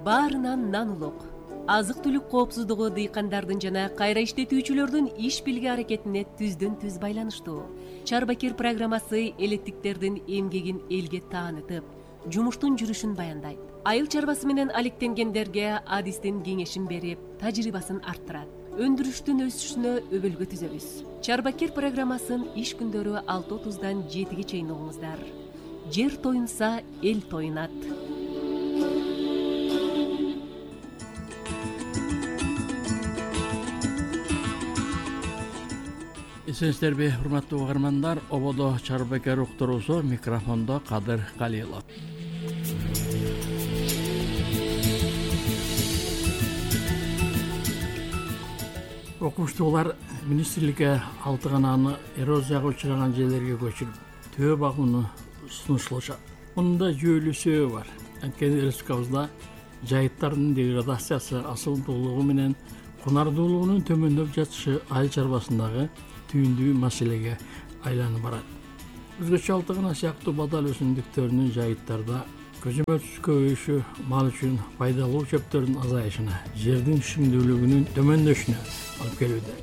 баарынан нан улук. Азык-түлүк коопсуздугу дыйкандардын жана кайра иштетүүчүлөрдүн иш билги аракетине түздөн түз байланыштуу. Чарбакер программасы элеттиктердин эмгегин элге таанытып, жумуштун жүрүшүн баяндайт. Айыл чарбасы менен алектенгендерге адистин кеңешин берип, тажрыйбасын арттырат. Өндүрүштүн өсүшүнө өбөлгө түзөбүз. Чарбакер программасын иш күндөрү 6:30-дан 7-ге чейин угуңуздар. Жер тоюнса, эл тоюнат. Эсенсиздерби, урматтуу угармандар, ободо Чарбакер уктуруусу, микрофондо Кадыр Калилов. Окумуштуулар министрликке 6 кананы эрозияга учураган жерлерге көчүрүп, төө багууну сунушулушат. Мында жүйөлүү себеби бар. Анткени республикабызда жайыттардын деградациясы, асылдуулугу менен кунардуулугунун төмөндөп жатышы айыл чарбасындагы түйүндүү маселеге айланып барат. Өзгөчө 6 кана сыяктуу бадал өсүмдүктөрүнүн жайыттарда көзөмөлсүз көбөйүшү мал үчүн пайдалуу чөптөрдүн азайышына, жердин түшүмдүүлүгүнүн төмөндөшүнө алып келүүдө.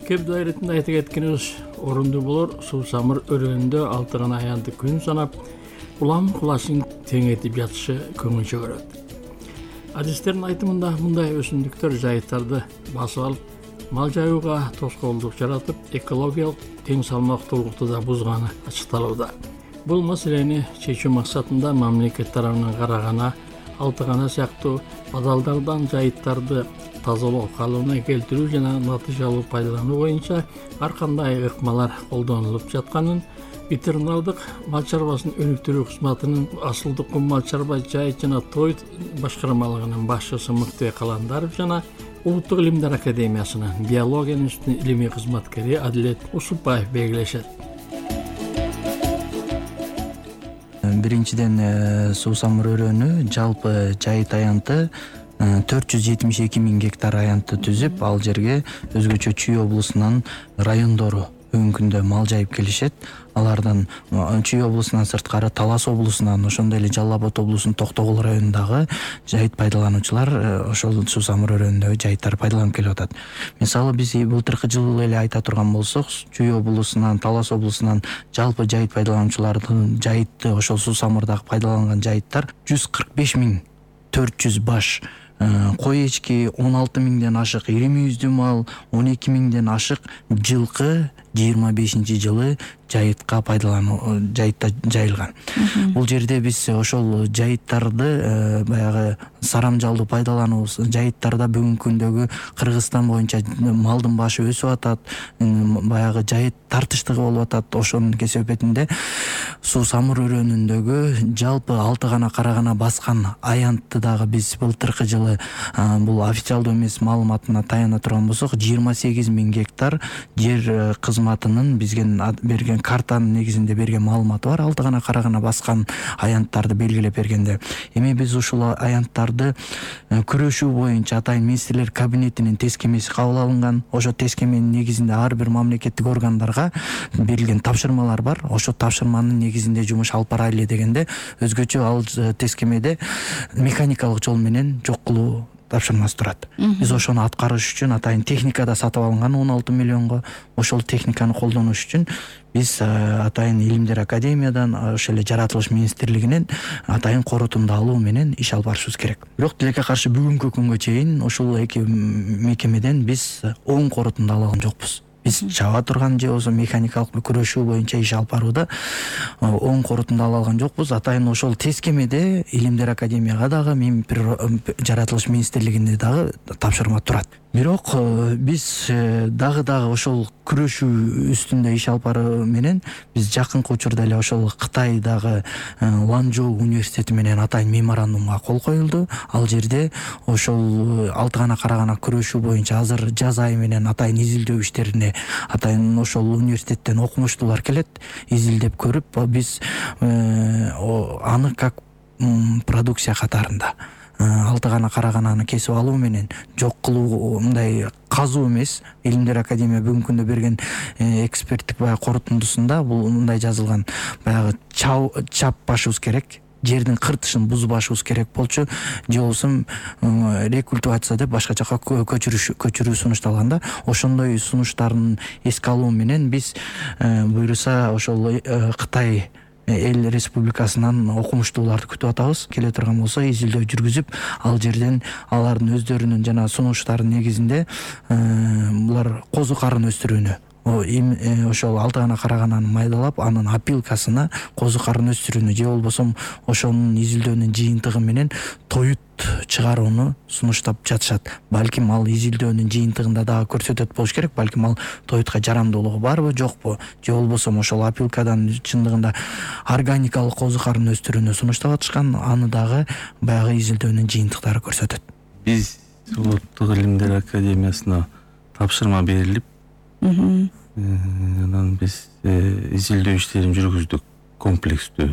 Кеп дайретинде айта кеткенибиз орундуу болор. Суусамыр өрөөнүндө 6 гана аянты күн санап, улам кулашын теңетип жатышы көңүл чөгөрөт. Адистердин айтымында мындай өсүмдүктөр жайыттарды басып алып, мал жаюуга тоскоолдук жаратып, экологиялык тең салмактуулукту да бузганы ачыкталууда. Бул маселени чечүү максатында мамлекет тарабынан карагана 6 гана сыяктуу бадалдардан жайыттарды тазалоо, калыбына келтирүү жана натыйжалуу пайдалануу боюнча ар кандай ыкмалар колдонулуп жатканын ветеринардык мал чарбасын өнүктүрүү кызматынын Асылдык кум мал чарба жайыт жана той башкармалыгынын башчысы Мыктыбек Каландаров жана Улуттук илимдер академиясынын биология институтунун илимий кызматкери Адилет Усупбаев белгилешет. Биринчиден суусамыр өрөөнү жалпы жайыт аянты 472 000 гектар аянтты түзүп, ал жерге өзгөчө Чүй облусунан райондору бүгүнкү күндө мал жайып келишет. Алардан Чүй облусунан сырткары Талас облусунан, ошондой эле Жалал Абад облусунун Токтогул районундагы жайыт пайдалануучулар ошол суусамыр өрөөнүндөгү жайыттарды пайдаланып келип атат. Мисалы биз былтыркы жылы эле айта турган болсок, Чүй облусунан, Талас облусунан жалпы жайыт пайдалануучулардын жайытты ошол суусамырдагы пайдаланган жайыттар 145 400 баш кой эчки, 16 000ден ашык ири мүйүздүү мал, 12 000ден ашык жылкы 25-жылы жайытка жайытта жайылган. Бул жерде биз ошол жайыттарды баягы сарамжалдуу пайдалануу, жайыттарда бүгүнкү күндөгү Кыргызстан боюнча малдын башы өсүп атат, баягы жайыт тартыштыгы болуп атат. Ошонун кесепетинде суусамыр өрөөнүндөгү жалпы 6 гана карагана баскан аянтты дагы биз былтыркы жылы бул официалдуу эмес маалыматына таяна турган болсок, 28 000 гектар жер кызматынын бизге берген картанын негизинде берген маалыматы бар. 6 гана карагана баскан аянттарды белгилеп бергенде, эми биз ушул аянттарды күрөшүү боюнча атайын министрлер кабинетинин тескемеси кабыл алынган. Ошо тескеменин негизинде ар бир мамлекеттик органдарга берилген тапшырмалар бар. Ошо тапшырманын негизинде жумуш алып барайлы дегенде, өзгөчө ал тескемеде механикалык жол менен жок кылуу тапшырмасы турат. Биз ошону аткарыш үчүн атайын техника да сатып алынган 16 миллионго. Ошол техниканы колдонуш үчүн биз атайын илимдер академиядан, ошол эле жаратылыш министрлигинен атайын корутунду алуу менен иш алып барышыбыз керек. Бирок тилекке каршы бүгүнкү күнгө чейин ушул эки мекемеден биз оң корутунду ала алган жокпуз. Биз чаба турган же болбосо механикалык күрөшүү боюнча иш алып барууда оң корутунду ала алган жокпуз. Атайын ошол тескемеде илимдер академияга дагы, жаратылыш министрлигине дагы тапшырма турат. Бирок биз дагы ошол күрөшүү үстүндө иш алып баруу менен биз жакынкы учурда эле ошол Кытайдагы Ланчжоу университети менен атайын меморандумга кол коюлду. Ал жерде ошол 6 гана карагана күрөшүү боюнча азыр жаз айы менен атайын изилдөө иштерине атайын ошол университеттен окумуштуулар келет. Изилдеп көрүп, биз аны как продукция катарында алтыгана карагананы кесип алуу менен жок кылуу мындай казуу эмес. Илимдер академия бүгүнкү күндө берген эксперттик баягы корутундусунда бул мындай жазылган: баягы чаппашыбыз керек, жердин кыртышын бузбашыбыз керек болчу, же болбосо рекультивация деп башка жака көчүрүү сунушталган да. Ошондой сунуштарын эске алуу менен биз буюрса ошол Кытай эл республикасынан окумуштууларды күтүп атабыз. Келе турган болсо изилдөө жүргүзүп, ал жерден алардын өздөрүнүн жана сунуштарынын негизинде булар козу карын өстүрүүнү, ошол алтыгана карагананы майдалап, анын опилкасына козу карын өстүрүүнү же болбосо ошонун изилдөөнүн жыйынтыгы менен тоют чыгарууну сунуштап жатышат. Балким ал изилдөөнүн жыйынтыгында дагы көрсөтөт болуш керек. Балким ал тоютка жарамдуулугу барбы, жокпу, же болбосо ошол опилкадан чындыгында органикалык козу карын өстүрүүнү сунуштап атышкан, аны дагы баягы изилдөөнүн жыйынтыктары көрсөтөт. Биз Улуттук илимдер академиясына тапшырма берилип, анан биз изилдөө иштерин жүргүздүк комплекстүү.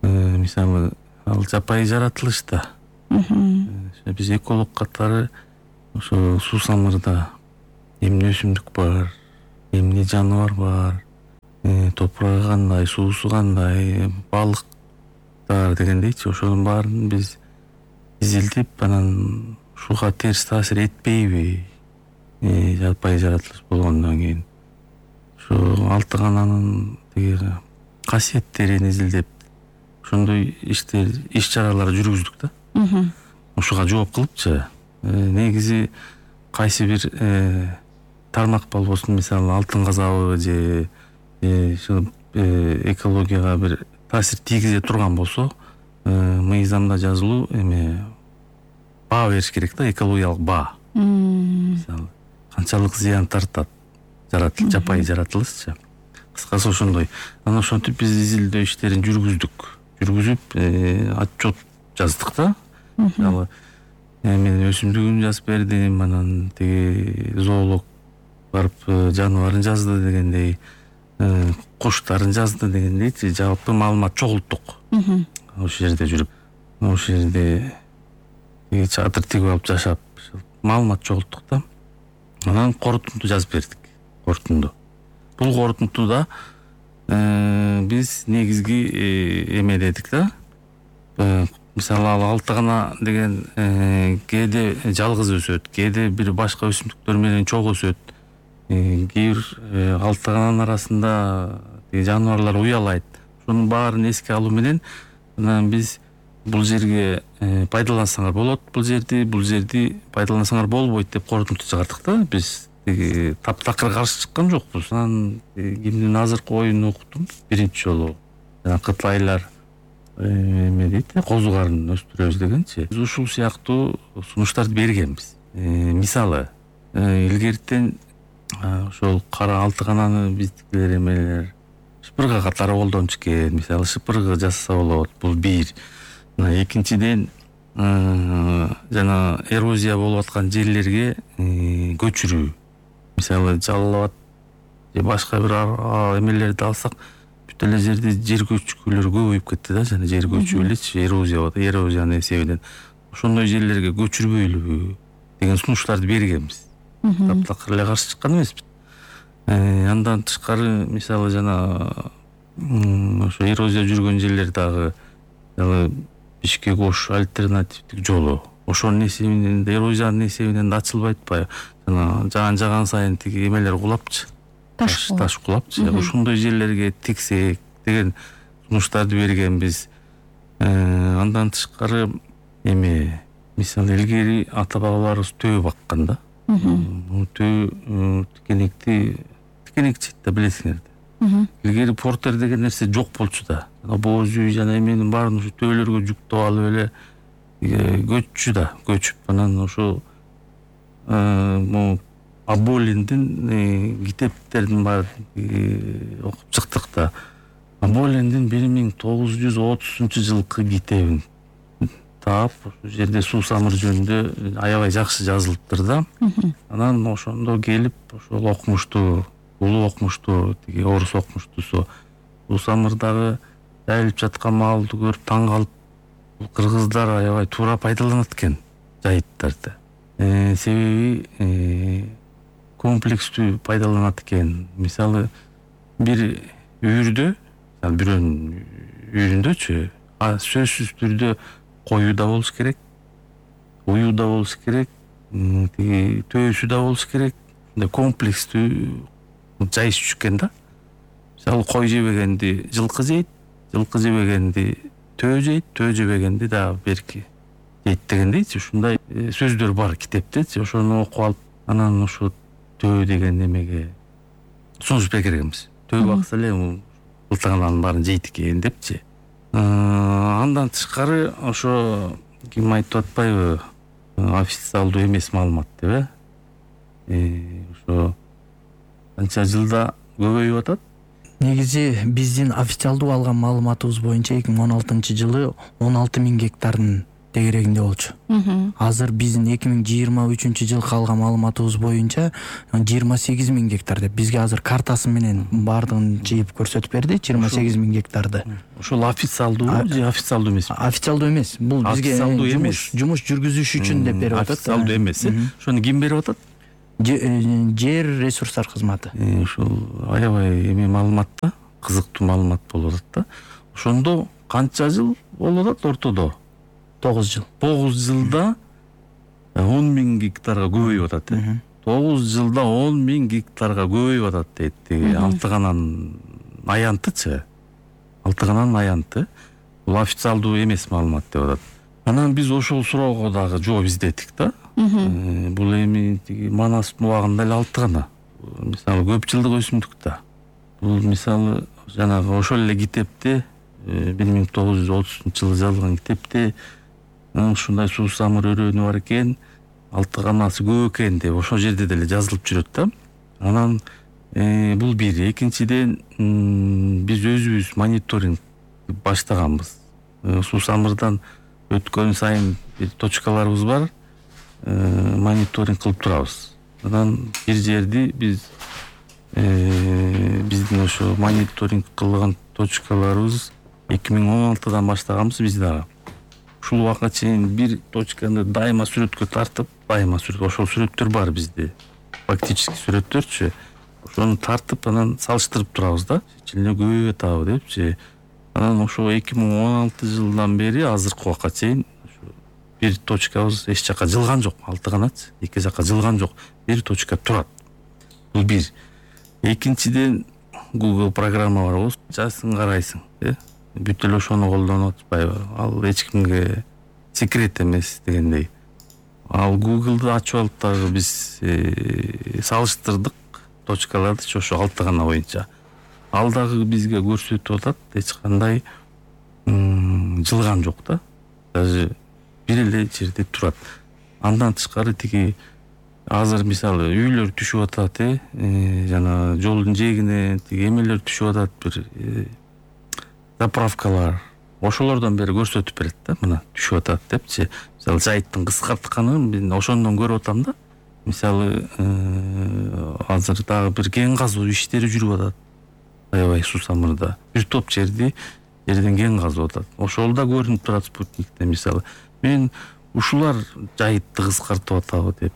Мисалы, ал жапайы жаратылышта биз эколог катары ошо суусамырда эмне өсүмдүк бар, эмне жаныбар бар, топурагы кандай, суусу кандай, балыктар дегендейчи, ошонун баарын биз изилдеп, анан ушуга терс таасир этпейби жапайы жаратылыш болгондон кийин ошо алтыгананын тиги касиеттерин изилдеп, ошондой иш чаралар жүргүздүк да. Ушуга жооп кылыпчы, негизи кайсы бир тармак болбосун, мисалы алтын казабы же экологияга бир таасир тийгизе турган болсо, мыйзамда жазылуу баа бериш керек да, экологиялык баа. Мисалы канчалык зыян тартат жапайы жаратылышчы. Кыскасы ошондой. Анан ошентип биз изилдөө иштерин жүргүзүп отчет жаздык да. Мисалы мен өсүмдүгүн жазып бердим, анан тиги зоолог барып жаныбарын жазды дегендей, куштарын жазды дегендейчи, жалпы маалымат чогулттук. Ошол жерде жүрүп, ошол жерде чатыр тигип алып жашап, маалымат чогулттук да. Анан корутунду жазып бердик. Бул корутундуда биз негизги эмедедик да. Мисалы ал алтыгана деген кээде жалгыз өсөт, кээде бир башка өсүмдүктөр менен чогуу өсөт. Кээ бир алтыгананын арасында жаныбарлар уялайт. Ошонун баарын эске алуу менен анан биз бул жерге пайдалансаңар болот, бул жерди пайдалансаңар болбойт деп корутунду чыгардык да. Биз таптакыр каршы чыккан жокпуз. Анан кимдин азыркы оюн уктум биринчи жолу. Кытайлар эме дейт, козу карын өстүрөбүз дегенчи. Биз ушул сыяктуу сунуштарды бергенбиз. Мисалы, илгертен ошол кара алтыгананы биздикилер эмелер шыпырга катары колдонуп экен. Мисалы, шыпыргы жасаса болот. Бул бир. Экинчиден, жана эрозия болуп аткан жерлерге көчүрүү. Мисалы, Жалал Абад же башка бир эмелерди алсак, бүт эле жерде жер көчкүлөр көбөйүп кетти да, жана жер көчүп элечи, эрозиянын эсебинен. Ошондой жерлерге көчүрбөйлүбү деген сунуштарды бергенбиз. Таптакыр эле каршы чыккан эмеспиз. Андан тышкары, мисалы, жана ошо эрозия жүргөн жерлер дагы Бишкек Ош альтернативдик жолу. Ошонун эсебинен, эрозиянын эсебинен да ачылбай атпайбы? Жана жаган сайын тиги эмелер кулапчы. Таш кулапчы. Ошондой жерлерге тиксек деген сунуштарды бергенбиз. Андан тышкары мисалы илгери ата бабаларыбыз төө баккан да. Төө тикенекчи да, билесиңер да. Илгери портер деген нерсе жок болчу да. Боз үй жана эменин баарын ушу төөлөргө жүктөп алып эле көчүп, анан ошо Аболиндин китептердин баарын окуп чыктык да. Аболиндин 1930 жылкы китебин таап, ошол жерде суусамыр жөнүндө аябай жакшы жазылыптыр да. Анан ошондо келип, ошол окумуштуу, улуу окумуштуу, тиги орус окумуштуусу суусамырдагы жайылып жаткан маалды көрүп таң калып, кыргыздар аябай туура пайдаланат экен жайыттарды. Себеби комплекстүү пайдаланат экен. Мисалы бир үйүрдө, бирөөнүн үйүрүндөчү сөзсүз түрдө кою да болуш керек, уюу да болуш керек, тиги төөсү да болуш керек. Комплекстүү жайыш экен да. Мисалы кой жебегенди жылкы жейт, жылкы жебегенди төө жейт, төө жебегенди дагы берки жейт дегендейчи. Ушундай сөздөр бар китепте. Ошону окуп алып, анан ошо төө деген немеге сунушпай киргенбиз. Төө бакса эле ылтыгананын баарын жейт экен депчи. Андан тышкары ошо ким айтып атпайбы, официалдуу эмес маалымат деп ошо канча жылда көбөйүп атат. Негизи биздин официалдуу алган маалыматыбыз боюнча 2016-жылы 16.000 гектардын тегерегинде болчу. Азыр биздин 2023-жылкы алган маалыматыбыз боюнча 28.000 гектар деп бизге азыр картасы менен баардыгын жыйып көрсөтүп берди. 28.000 гектарды. Ошол официалдуу же официалдуу эмес? Официалдуу эмес. Бул бизге жумуш жүргүзүш үчүн деп берип атат. Официалдуу эмес. Ошону ким берип атат? Жер ресурстар кызматы. Ошол аябай эме маалымат да, кызыктуу маалымат болуп атат да. Ошондо канча жыл болуп атат ортодо? 9 жыл. 9 жылда 10.000 гектарга көбөйүп атат. 9 жылда 10.000 гектарга көбөйүп атат дейт. Алтыганан аянтычы. Алтыганан аянты. Бул официалдуу эмес маалымат деп атат. Анан биз ошол суроого дагы жооп издеттик да. Бул эми Манас убагында эле алтыгана. Мисалы көп жылдык өсүмдүк да. Бул мисалы жанагы ошол эле китепте 1930-жылы жазылган китепте ушундай суусамыр өрөөнү бар экен, алтыганасы көп экен деп ошол жерде деле жазылып жүрөт да. Анан бул бир. Экинчиден биз өзүбүз мониторинг баштаганбыз. Суусамырдан өткөн сайын бир точкаларыбыз бар. Мониторинг кылып турабыз. Анан бир жерди биз биздин ошо мониторинг кылган точкаларыбыз 2016-дан баштаганбыз биз дагы. Ушул убакка чейин бир точканы дайыма сүрөткө тартып, ошол сүрөттөр бар бизде. Фактически сүрөттөрчү. Ошону тартып, анан салыштырып турабыз да. Чечилине көбөйүп атабы депчи. Анан ошо 2016 жылдан бери азыркы убакка чейин бир точкабыз эч жака жылган жок. Алтыганат эки жака жылган жок. Бир точка турат. Бул бир. Экинчиден Google программа бар болсо, жазсын карайсың, бүт эле ошону колдонуп атпайбы? Ал эч кимге секрет эмес дегендей. Ал Google'ды ачып алып дагы биз салыштырдык точкаларды ошо алтыгана боюнча. Ал дагы бизге көрсөтүп атат, эч кандай жылган жок да. Даже бир эле жерде турат. Андан тышкары тиги азыр мисалы үйлөр түшүп атат, жана жолдун жээгине тиги эмелер түшүп атат, бир заправкалар. Ошолордон бери көрсөтүп берет да, мына түшүп атат депчи. Мисалы жайыттын кыскартканын мен ошондон көрүп атам да. Мисалы азыр дагы бир кен казуу иштери жүрүп атат. Аябай суусамырда бир топ жерден кен казып атат. Ошол да көрүнүп турат спутникте. Мисалы мен ушулар жайытты кыскартып атабы деп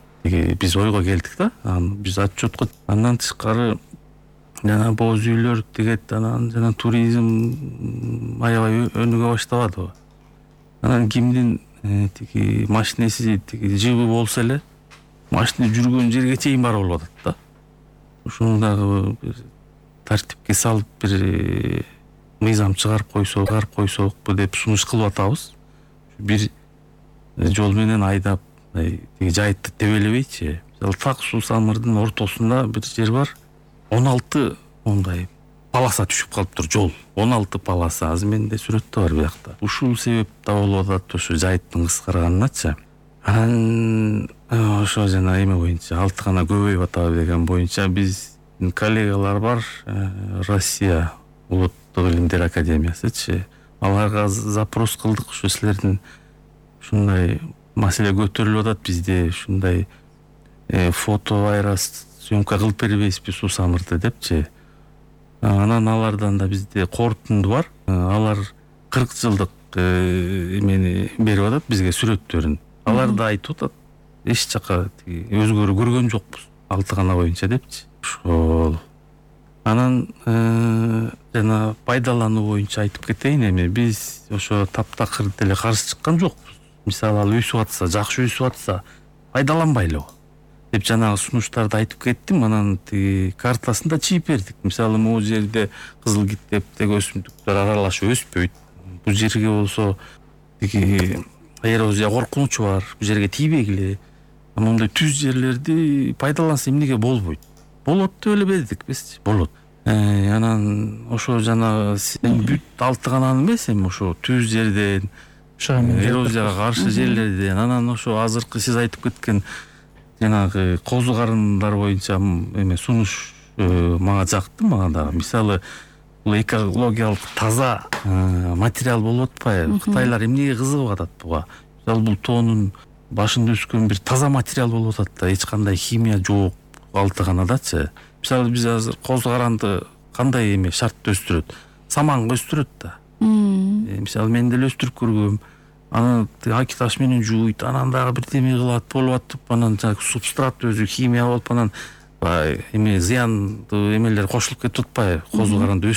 биз ойго келдик да. Биз отчетко андан тышкары жана боз үйлөр тигет, анан жана туризм аябай өнүгө баштабадыбы. Анан кимдин тиги машинеси тиги жыбы болсо эле машина жүргөн жерге чейин барып болуп атат да. Ушуну дагы бир тартипке салып бир мыйзам чыгарып койсокпу деп сунуш кылып атабыз. Бир жол менен айдап тиги жайытты тебелебейчи. Мисалы так суусамырдын ортосунда бир жер бар. 16 ондай полоса түшүп калыптыр, жол. 16 полоса. Азыр менде сүрөттө бар биякта. Ушул себеп да болуп атат, ошо жайыттын кыскарганычы. Анан ошо жана эме боюнча, алтыгана көбөйүп атабы деген боюнча биз коллегалар бар, Россия улуттук илимдер академиясычы. Аларга запрос кылдык, ошо силердин ушундай маселе көтөрүлүп атат бизде, ушундай фото аэросъемка кылып бербейсизби суусамырды депчи. Анан алардан да бизде корутунду бар. Алар 40 жылдык эмени берип атат бизге, сүрөттөрүн. Алар да айтып атат, эч жака өзгөрүү көргөн жокпуз алтыгана боюнча депчи. Ошол анан жана пайдалануу боюнча айтып кетейин. Эми биз ошо таптакыр деле каршы чыккан жокпуз. Мисалы ал өсүп атса, жакшы өсүп атса пайдаланбайлыбы деп жанагы сунуштарды айтып кеттим. Анан тиги картасын да чийип бердик. Мисалы могу жерде кызыл киттептеги өсүмдүктөр аралашып өспөйт. Бул жерге болсо тиги эрозия коркунучу бар, бул жерге тийбегиле. Мондай түз жерлерди пайдаланса эмнеге болбойт? Болот деп эле бердик бизчи. Болот. Анан ошо жана сен бүт алтыгананы эмес, эми ошо түз жерден, эрозияга каршы жерлерден, анан ошо азыркы сиз айтып кеткен жанагы козу карындар боюнча эме сунуш мага жакты. Мага дагы мисалы бул экологиялык таза материал болуп атпайбы? Кытайлар эмнеге кызыгып атат буга? Мисалы бул тоонун башында өскөн бир таза материал болуп атат да, эч кандай химия жок алтыганадачы. Мисалы биз азыр козу каранды кандай эме шартта өстүрөт? Саманга өстүрөт да. Мисалы мен деле өстүрүп көргөм. Анан аки таш менен жууйт, анан дагы бирдеме кылат, болуп атып, анан жанагы субстрат өзү химия болуп, анан эме зыяндуу эмелер кошулуп кетип атпайбы? Козу каранды